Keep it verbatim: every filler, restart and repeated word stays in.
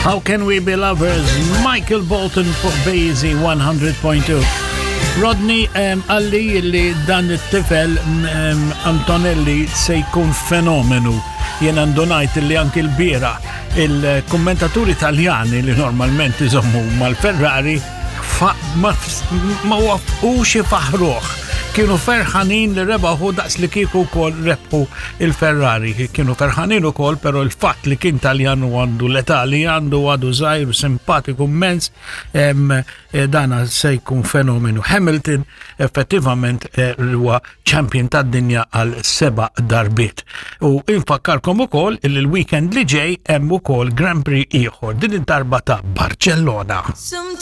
How Can We Be Lovers, Michael Bolton fuq B-Easy one hundred point two. Rodney um, qalli li dan it-tifel um, Antonelli se jkun fenomenu. Jien għandunajt li anki l-bieraħ il-kommentaturi Italjani li normalment iżommu mal-Ferrari fa- ma, ma waqfux ifaħruh. Kienu ferħanin li rebaħu daqs li kieku kol rebħu il-Ferrari. Kienu ferħanin u kol, pero il-fatt li kien Taljan u għandu l-età li għandu, għadu żgħir, simpatiku immens, em, eh, dana se jkun fenomenu. Hamilton effettivament eh, huwa champion tad-dinja għal seba darbiet. U infakkarkom ukoll il l-weekend li ġej hemm ukoll Grand Prix ieħor, din id-darba ta' Barcellona.